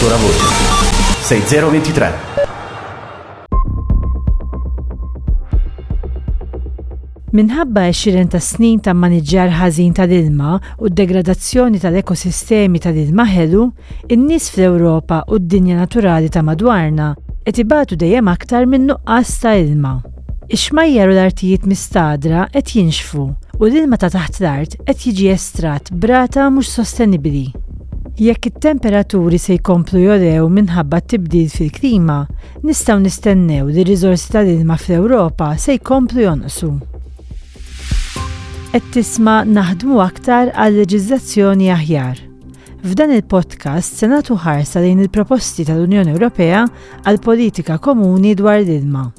Ancora voce. 6023. Minħabba għexieren ta' snin ta' mmaniġġjar ħażin tal-ilma u d-degradazzjoni tal-ekosistemi tal-ilma ħelu, in-nies fl-Ewropa u d-dinja naturali ta' madwarna qed ibatu dejjem aktar minn nuqqas ta' ilma. Ix-xmajjar u l-artijiet mistagħdra qed jinxfu u l-ilma ta' taħt l-art qed jiġi estratt b'rata mhux sostenibbli. Jekk it-temperaturi se jkomplu jogħlew minħabba t-tibdil fil-klima, nistgħu nistennew li r-riżorsi tal-ilma fl-Ewropa se jkomplu jonqsu. Qed tisma' Naħdmu Aktar għal Leġiżlazzjoni Aħjar. F'dan il-podcast se nagħtu ħarsa lejn il-proposti tal-Unjoni Ewropea għal politika komuni dwar l-ilma.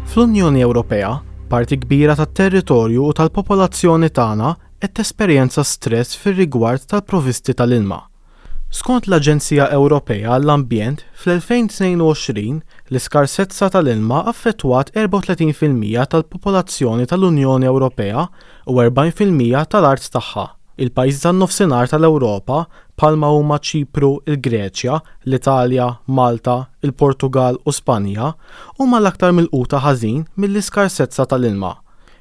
Fl-Unjoni Ewropea, parti kbira tat-territorju u tal-popolazzjoni tagħna qed tesperjenza stress fir-rigward tal-provvisti tal-ilma. Skont l-Aġenzija Ewropea għall-Ambjent, fl-2022 l-iskarsezza tal-ilma affettwat 34% tal-popolazzjoni tal-Unjoni Ewropea u 40% tal-art tagħha. Il-pajjiżi tan-Nofsinhar tal-Ewropa, bħalma huma Ċipru, il-Greċja, l-Italja, Malta, il-Portugall u Spanja, huma l-aktar milquta ħażin mill-iskarsezza tal-ilma.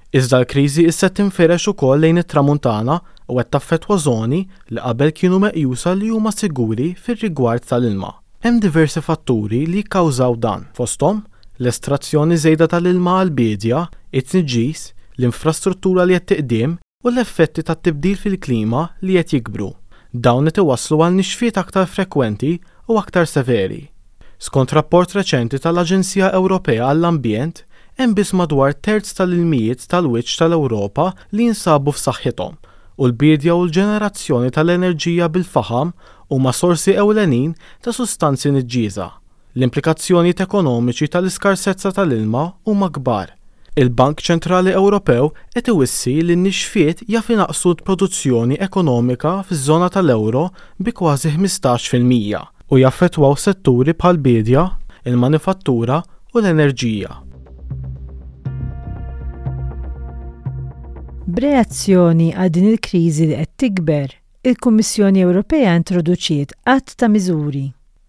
Iżda l-kriżi issa qed tinfirex ukoll lejn it-Tramuntana u qed taffettwa żoni li qabel kienu meqjusa li huma siguri fir-rigward tal-ilma. Hemm diversi fatturi li jikkawżaw dan, fosthom, l-estrazzjoni żejda tal-ilma għall-biedja, it-tniġġis, l-infrastruttura li qed tiqdiem u l-effetti tat-tibdil fil-klima li qed jikbru. Dawn qed iwasslu għal nixfiet aktar frekwenti u aktar severi. Skont rapport reċenti tal-Aġenzija Ewropea għall-Ambjent, hemm biss madwar terz tal-ilmijiet tal-wiċċ tal-Ewropa li jinsabu f'saħħithom, u l-biedja u l-ġenerazzjoni tal-enerġija bil-faħam huma sorsi ewlenin ta' sustanzi niġġiesa. L-implikazzjonijiet ekonomiċi tal-iskarsezza tal-ilma huma kbar. Il-Bank Ċentrali Ewropew qed iwissi li n-nixfiet jaf inaqqsu l-produzzjoni ekonomika fiż-żona tal-euro bi kważi 15%, u jaffettwaw setturi bħall-biedja, il-manifattura u l-enerġija. B'reazzjoni għal din il-kriżi li qed tikber, il-Kummissjoni Ewropea introduċiet għadd ta' miżuri.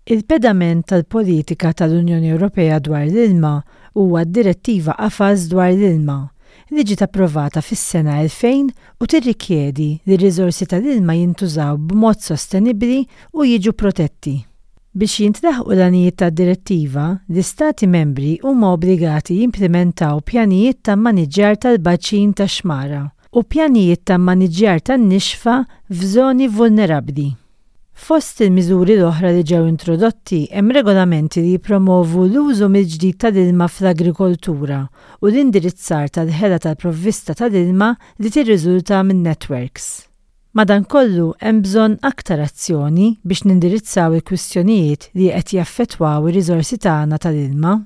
Il-pedament tal-politika tal-Unjoni Ewropea dwar l-ilma huwa d-Direttiva Qafas dwar l-Ilma, li ġiet approvata fis-sena 2000 u tirrikjedi li r-riżorsi tal-ilma jintużaw b'mod sostenibbli u jiġu protetti. Biex jintlaħqu l-għanijiet tad-Direttiva, l-Istati Membri huma obbligati jimplimentaw pjanijiet ta' mmaniġġjar tal-baċin tax-xmara u pjanijiet ta' mmaniġġjar tan-nixfa f'żoni vulnerabbli. Fost il-miżuri l-oħra li ġew introdotti hemm regolamenti li jippromovu l-użu mill-ġdid tal-ilma fl-agrikoltura u l-indirizzar tal-ħela tal-provvista tal-ilma li tirriżulta min-netwerks. Madankollu, hemm bżonn aktar azzjoni biex nindirizzaw il-kwistjonijiet li qed jaffettwaw ir-riżorsi tagħna tal-ilma.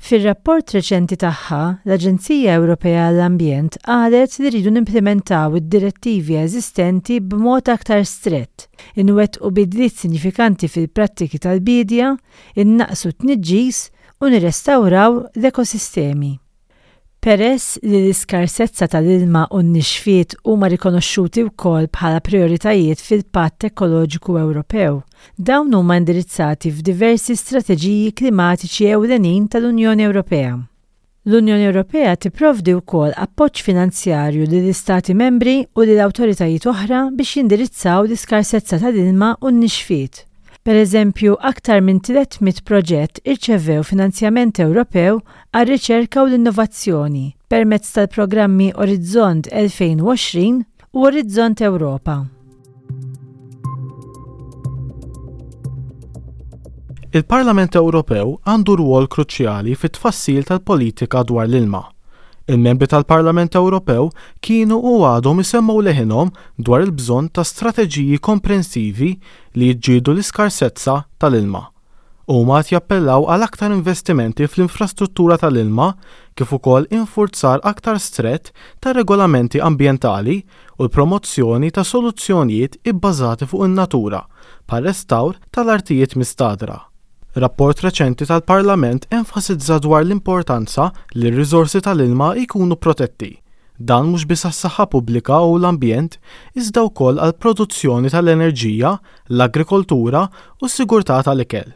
Fir-rapport reċenti tagħha, l-Aġenzija Ewropea għall-Ambjent qalet li rridu nimplimentaw id-direttivi eżistenti b'mod aktar strett, inwettqu bidliet sinjifikanti fil-prattiki tal-biedja, innaqqsu t-tniġġis u nirrestawraw l-ekosistemi. Peress li l-iskarsezza tal-ilma u n-nixfiet huma rikonoxxuti wkoll bħala prijoritajiet fil-Patt Ekoloġiku Ewropew, dawn huma indirizzati f'diversi strateġiji klimatiċi ewlenin tal-Unjoni Ewropea. L-Unjoni Ewropea tipprovdi wkoll appoġġ finanzjarju lill-Istati Membri u lil awtoritajiet oħra biex jindirizzaw l-iskarsezza tal-ilma u n-nixfiet. Pereżempju, aktar minn 300 proġett irċevew finanzjament Ewropew għar-riċerka u l-innovazzjoni permezz tal-programmi Orizzont 2020 u Orizzont Ewropa. Il-Parlament Ewropew għandu rwol kruċjali fit-tfassil tal-politika dwar l-ilma. Il-Membri tal-Parlament Ewropew kienu u għadhom isemmgħu leħinhom dwar il-bżonn ta' strateġiji komprensivi li jiġġieldu l-iskarsezza tal-ilma. Huma qed jappellaw għal aktar investimenti fl-infrastruttura tal-ilma kif ukoll infurzar aktar strett tar-regolamenti ambjentali u l-promozzjoni ta' soluzzjonijiet ibbażati fuq in-natura bħar-restawr tal-artijiet mistagħdra. Rapport reċenti tal-Parlament enfasizza dwar l-importanza li r-riżorsi tal-ilma jkunu protetti. Dan mhux biss għas-saħħa pubblika u l-ambjent, iżda wkoll għall-produzzjoni tal-enerġija, l-agrikoltura u s-sigurtà tal-ikel.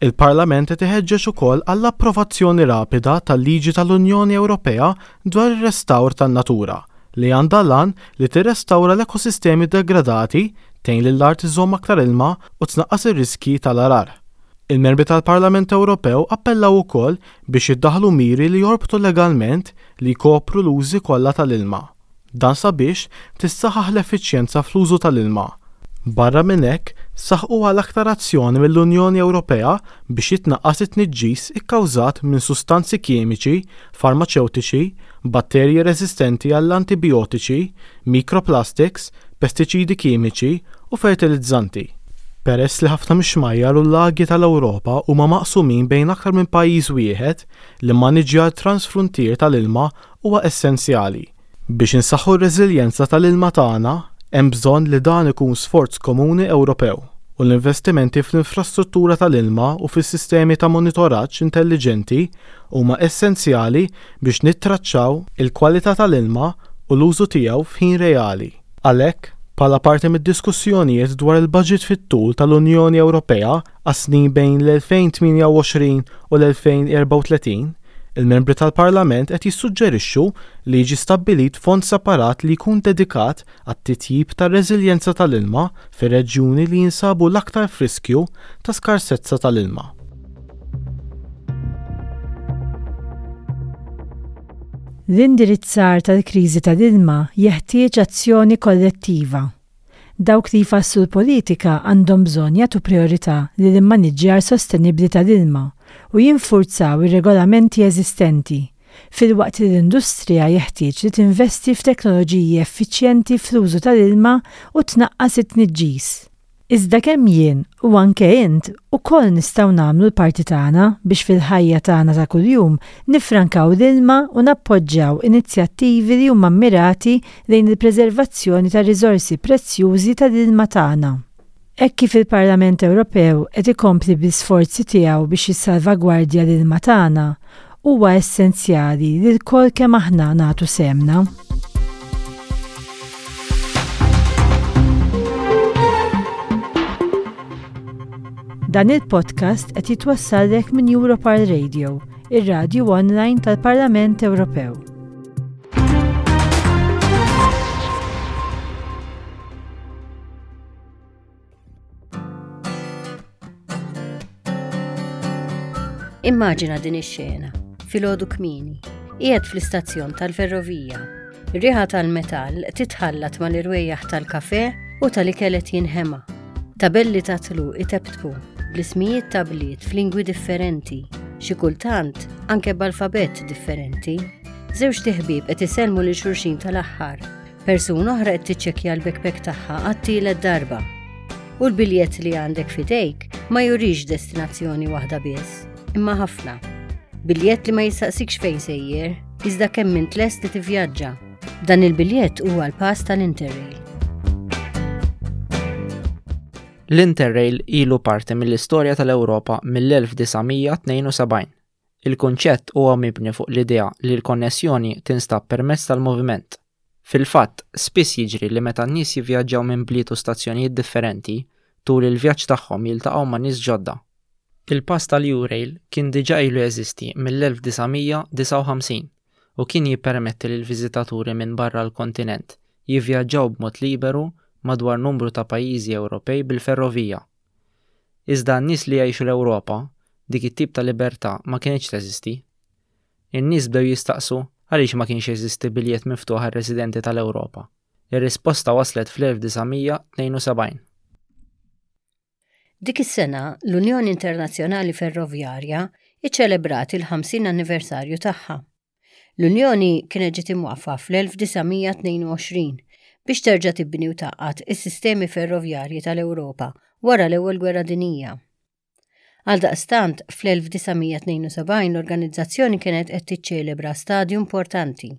Il-Parlament qed iħeġġeġ ukoll għall-approvazzjoni rapida tal-liġi tal-Unjoni Ewropea dwar ir-restawr tan-natura, li għandha l-għan li tirrestawra l-ekosistemi degradati, tgħin lill-art iżżomm aktar ilma u tnaqqas ir-riskji tal-għargħar. Il-Membri tal-Parlament Ewropew appellaw ukoll biex jiddaħħlu miri li jorbtu legalment li jkopru l-użi kollha tal-ilma. Dan sabiex tissaħħaħ l-effiċjenza fl-użu tal-ilma. Barra minn hekk, saħqu għal aktar azzjoni mill-Unjoni Ewropea biex jitnaqqas it-tniġġis ikkawżat minn sustanzi kimiċi, farmaċewtiċi, batterji reżistenti għall-antibijotiċi, mikroplastiks, pestiċidi kimiċi u fertilizzanti. Peress li ħafna mix-xmajjar u l-lagi tal-Ewropa huma maqsumin bejn aktar minn pajjiż wieħed, l-immaniġġjar transfruntier tal-ilma huwa essenzjali. Biex insaħħu r-reżiljenza tal-ilma tagħna, hemm bżonn li dan ikun sforz komuni Ewropew, u l-investimenti fl-infrastruttura tal-ilma u fis-sistemi ta' monitoraġġ intelliġenti huma essenzjali biex nittraċċaw il-kwalità tal-ilma u l-użu tiegħu f'ħin reali. Għalhekk, bħala parti mid-diskussjonijiet dwar il-baġit fit-tul tal-Unjoni Ewropea għas-snin bejn l-2028 u l-2034, Il-Membri tal-Parlament qed jissuġġerixxu li jiġi stabbilit fond separat li jkun dedikat għat-titjib tar-reżiljenza tal-ilma fir-reġjuni li jinsabu l-aktar f'riskju ta' skarsezza tal-ilma. L-indirizzar tal-kriżi tal-ilma jeħtieġ azzjoni kollettiva. Dawk li jfasslu l-politika għandhom bżonn jagħtu prijorità lill-immaniġġjar sostenibbli tal-ilma u jinfurzaw ir-regolamenti eżistenti, filwaqt li l-industrija jeħtieġ li tinvesti f'teknoloġiji effiċjenti fl-użu tal-ilma u tnaqqas it-tniġġis. Iżda kemm jien u anke int ukoll nistgħu nagħmlu l-parti tagħna biex fil-ħajja tagħna ta' kuljum niffrankaw l-ilma u nappoġġjaw inizjattivi li huma mmirati lejn il-preservazzjoni tar-riżorsi prezzjużi tal-ilma tagħna. Hekk kif il-Parlament Ewropew qed ikompli bl-isforzi tiegħu biex jissalvagwardja l-ilma tagħna, huwa essenzjali li lkoll kemm aħna nagħtu sehemna. Dan il-podcast qed jitwassallek minn Europar Radio, ir-radju online tal-Parlament Ewropew. Immaġina din ix-xena, filgħodu kmieni, qiegħed fl-istazzjon tal-ferrovija. Ir-riħa tal-metall titħallat mal-irwejjaħ tal-kafè u tal-ikel qed jinħema. Tabelli ta' tluq itebtbu bl-ismijiet ta' bliet f'lingwi differenti, xi kultant anke b'alfabett differenti. Żewġt iħbieb qed isellmu lil xulxin tal-aħħar Persuna oħra qed tiċċekkja l-backpack tagħha għat-tielet darba. U l-biljett li għandek f'idejk ma jurix destinazzjoni waħda biss, imma ħafna. Biljett li ma jistaqsikx fejn sejjer, iżda kemm int lest li tivvjaġġa. Dan il-biljett huwa l-pass tal-Interrail. L-Interrail ilu parti mill-istorja tal-Ewropa mill-1972. Il-kunċett huwa mibni fuq l-idea li l-konnessjoni tinstab permezz tal-moviment. Fil-fatt, spiss jiġri li meta n-nies jivvjaġġaw minn bliet u stazzjonijiet differenti, tul il-vjaġġ tagħhom jiltaqgħu ma' nies ġodda. Il-pass tal-Eurail kien diġà ilu jeżisti mill-1959 u kien jippermetti lill-viżitaturi minn barra l-kontinent jivvjaġġaw b'mod liberu madwar numru ta' pajjiżi Ewropej bil-ferrovija. Iżda għan-nies li jgħixu l-Ewropa, dik it-tip ta' libertà ma kinitx teżisti. In-nies bdew jistaqsu għaliex ma kienx jeżisti biljett miftuħ għar-residenti tal-Ewropa. Ir-risposta waslet fl-1972. Dik is-sena, l-Unjoni Internazzjonali Ferrovjarja iċċelebrat il-50 anniversarju tagħha. L-Unjoni kienet ġiet imwaqqfa fl-1922 biex terġa' tibni u tgħaqqad is-sistemi ferrovjarji tal-Ewropa wara l-Ewwel Gwerra Dinjija. Għaldaqstant, fl-1972 l-organizzazzjoni kienet qed tiċċelebra stadju importanti.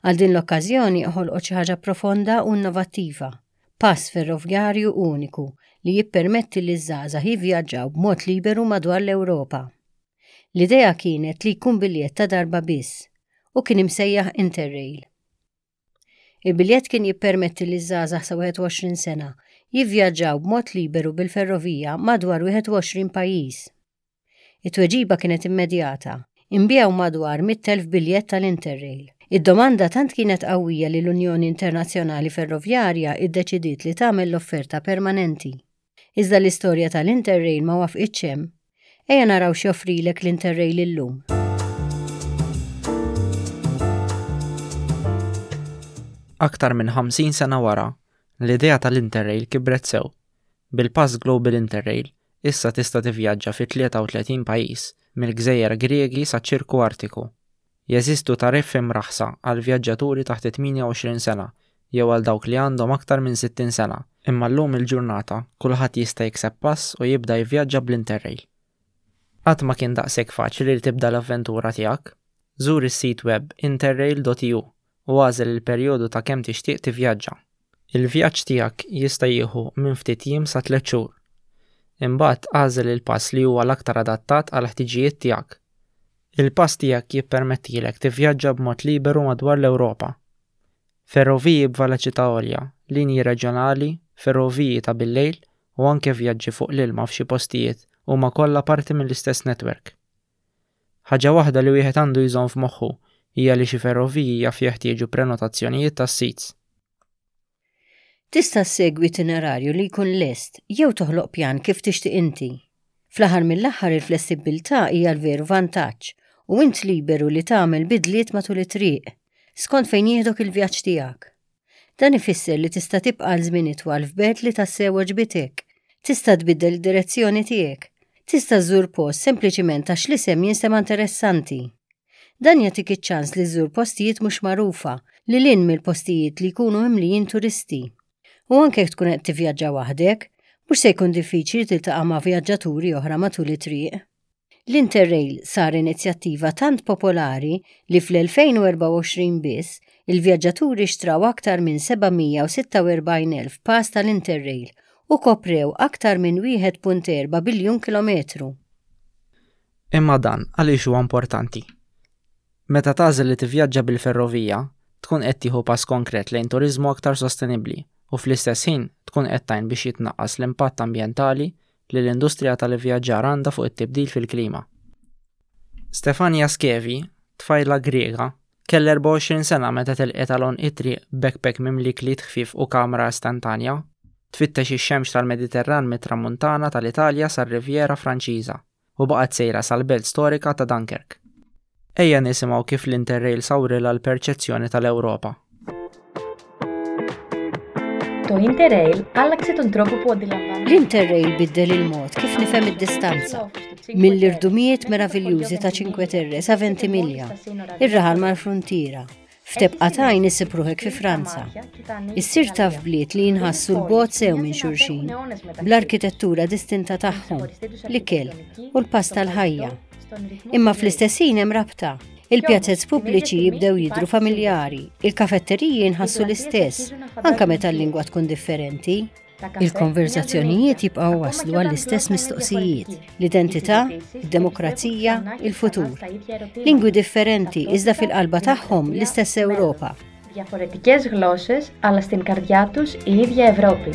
Għal din l-okkażjoni ħolqot xi ħaġa profonda u innovattiva. Pass ferrovjarju uniku li jippermetti liż-żgħażagħ jivvjaġġaw b'mod liberu madwar l-Ewropa. L-idea kienet li jkun biljett ta' darba biss u kien imsejjaħ Interrail. Il-biljett kien jippermetti liż-żgħażagħ sa 21 sena jivvjaġġaw b'mod liberu bil-ferrovija madwar 21 pajjiż. It-tweġiba kienet immedjata. Inbiegħu madwar 100,000 biljett tal-Interrail. Id-domanda tant kienet qawwija li l-Unjoni Internazzjonali Ferrovjarja iddeċidiet li tagħmel l-offerta permanenti. Iżda l-istorja tal-Interrail ma wafqitx hemm. Ejja naraw x'joffrilek l-Interrail illum. Aktar minn 50 sena wara, l-idea tal-Interrail kibret sew. Bil-pass Global Interrail, issa tista' tivvjaġġa fi 33 pajjiż, mill-gżejjer Griegi saċ-Ċirku Artiku. Jeżistu tariffi mraħħsa għal vjaġġaturi taħt it-28 sena jew għal dawk li għandhom aktar minn 60 sena, imma llum il-ġurnata kulħadd jista' jikseb pass u jibda jivvjaġġa bl-Interrail. Qatt ma kien daqshekk faċli li tibda l-avventura tiegħek. Żur is-sit web interrail.eu u agħżel il-perjodu ta' kemm tixtieq tivvjaġġa. Il-vjaġġ tiegħek jista' jieħu minn ftit jiem sa tlett xhur. Imbagħad agħżel il-pass li huwa l-aktar adattat għall-ħtiġijiet tiegħek. Il-pass tiegħek jippermettilek tivvjaġġa b'mod liberu madwar l-Ewropa. Ferroviji b'veloċità għolja, linji reġjonali, ferroviji ta' billejl u anke vjaġġi fuq l-ilma f'xi postijiet huma kollha parti mill-istess netwerk. Ħaġa waħda li wieħed għandu jżomm f'moħħu hija li xi ferroviji jaf jeħtieġu prenotazzjonijiet tas-seats. Tista' ssegwi itinerarju li jkun lest jew toħloq pjan kif tixtieq inti. Fl-aħħar mill-aħħar il-flessibbiltà hija l-veru vantaġġ u int liberu li tagħmel bidliet matul it-triq, skont fejn jieħdok il-vjaġġ tiegħek. Dan ifisser li tista' tibqa' għal żmien itwal f'belt li tassew għoġbitek. Tista' tbiddel id-direzzjoni tiegħek. Tista' żżur post sempliċiment għax l-isem jinstema' interessanti. Dan jagħtik iċ-ċans li żżur postijiet mhux magħrufa, lil hinn mill-postijiet li jkunu mimlijin turisti. U anke jekk tkun qed tivvjaġġa waħdek, mhux se jkun diffiċli tiltaqa' ma' vjaġġaturi oħra matul it-triq. L-Interrail sar inizjattiva tant popolari li fl-2024 biss, il-vjaġġaturi xtraw aktar minn 746,000 pass tal-Interrail u koprew aktar minn 1.4 biljun kilometru. Imma dan għaliex huwa importanti? Meta tagħżel li tivvjaġġa bil-ferrovija, tkun qed tieħu pass konkret lejn turiżmu aktar sostenibbli u fl-istess ħin tkun qed tgħin biex jitnaqqas l-impatt ambjentali li l-industrija tal-ivvjaġġar għandha fuq it-tibdil fil-klima. Stefania Skevi, tfajla Griega, kellha 24 sena meta telqet għal għonq it-triq b'backpack mimli kliet ħfief u kamra istantanja, tfittex ix-xemx tal-Mediterran mit-Tramuntana tal-Italja sar-Riviera Franċiża. u baqgħet sejra sal-belt storika ta' Dunkirk. Ejja nisimgħu kif l-Interrail sawrilha l-perċezzjoni tal-Ewropa. Το Interrail άλλαξε τον τρόπο που αντιλαμβάνομαι. L-Interrail biddel il-mod kif nifhem id-distanza. Mill-irdumijiet meraviljużi ta' Cinque Terre sa Ventimiglia, ir-raħal mal-fruntiera, F'tebqa t'għajn issib ruħek fi Franza. Issir taf bliet li jinħassu 'l bogħod sew minn xulxin, bl-arkitettura distinta tagħhom, l-ikel, u l-pass tal-ħajja. Imma fl-istess ħin hemm rabta. Il-pjazez pubbliċi jibdew jidhru familjari, il-kafetteriji jinħassu l-istess, anke meta l-lingwa tkun differenti. Il-konverżazzjonijiet jibqgħu waslu għall-istess mistoqsijiet, l-identità, id-demokrazija, il-futur. Lingwi differenti iżda fil-qalba tagħhom l-istess Ewropa. Διαφορετικές γλώσσες, αλλά στην καρδιά τους η ίδια Ευρώπη.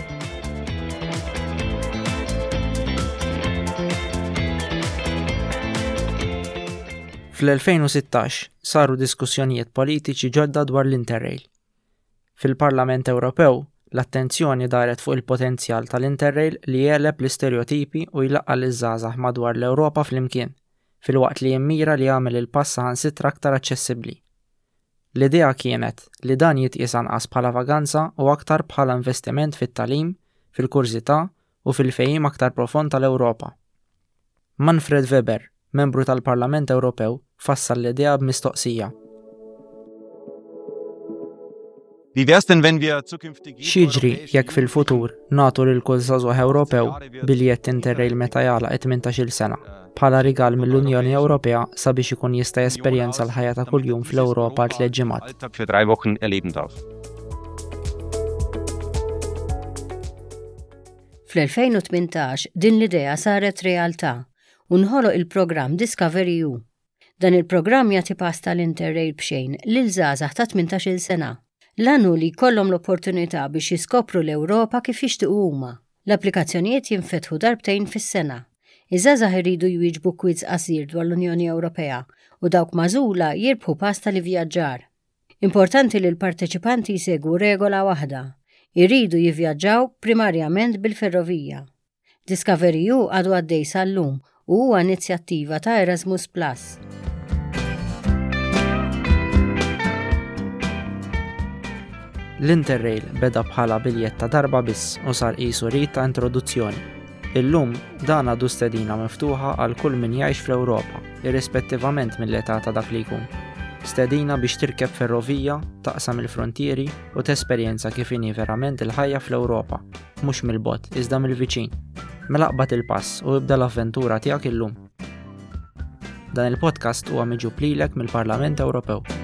Fl-2016 saru diskussjonijiet politiċi ġodda dwar l-Interrail. Fil-Parlament Ewropew, l-attenzjoni daret fuq il-potenzjal tal-Interrail li jegħleb l-istereotipi u jlaqqa' liż-żgħażagħ madwar l-Ewropa flimkien, filwaqt li jimmira li jagħmel il-pass saħansitra aktar aċċessibbli. L-idea kienet li dan jitqies anqas bħala vaganza u aktar bħala investiment fit-tagħlim, fil-kurżità u fil-fehim aktar profond tal-Ewropa. Manfred Weber, membru tal-Parlament Ewropew, fassal l-idea b'mistoqsija. X'jiġri jekk fil-futur nagħtu lil kull żagħżugħ Ewropew biljett Interrail meta jagħlaq it-tmintax-il sena, bħala rigal mill-Unjoni Ewropea sabiex ikun jista' jesperjenza l-ħajja ta' kuljum fl-Ewropa għal tliet ġimgħat? Fl-2018 din l-idea saret realtà u nħoloq il-programm Discovery EU. Dan il-programm jagħti pass tal-Interrail b'xejn lil żgħażagħ ta' 18-il sena. L-għan hu li jkollhom l-opportunità biex jiskopru l-Ewropa kif jixtiequ huma. L-applikazzjonijiet jinfetħu darbtejn fis-sena. Iż-żgħażagħ iridu jwieġbu kwiżż qasir dwar l-Unjoni Ewropea u dawk magħżula jirbħu pass tal-ivvjaġġar. Importanti li l-parteċipanti jsegwu regola waħda, iridu jivvjaġġaw primarjament bil-ferrovija. Discovery-EU għadu għaddej sal-lum u huwa inizjattiva ta' Erasmus Plus. L-Interrail beda bħala biljett ta' darba biss u sar qisu rit ta' introduzzjoni. Illum, dan għadu stedina miftuħa għal kull min jgħix fl-Ewropa, irrispettivament mill-età ta' dak li jkun. Stedina biex tirkeb ferrovija, taqsam il-fruntieri u tesperjenza kif inhi verament il-ħajja fl-Ewropa, mhux mill-bogħod, iżda mill-viċin. Mela aqbad il-pass u ibda l-avventura tiegħek illum. Dan il-podcast huwa miġjub lilek mill-Parlament Ewropew.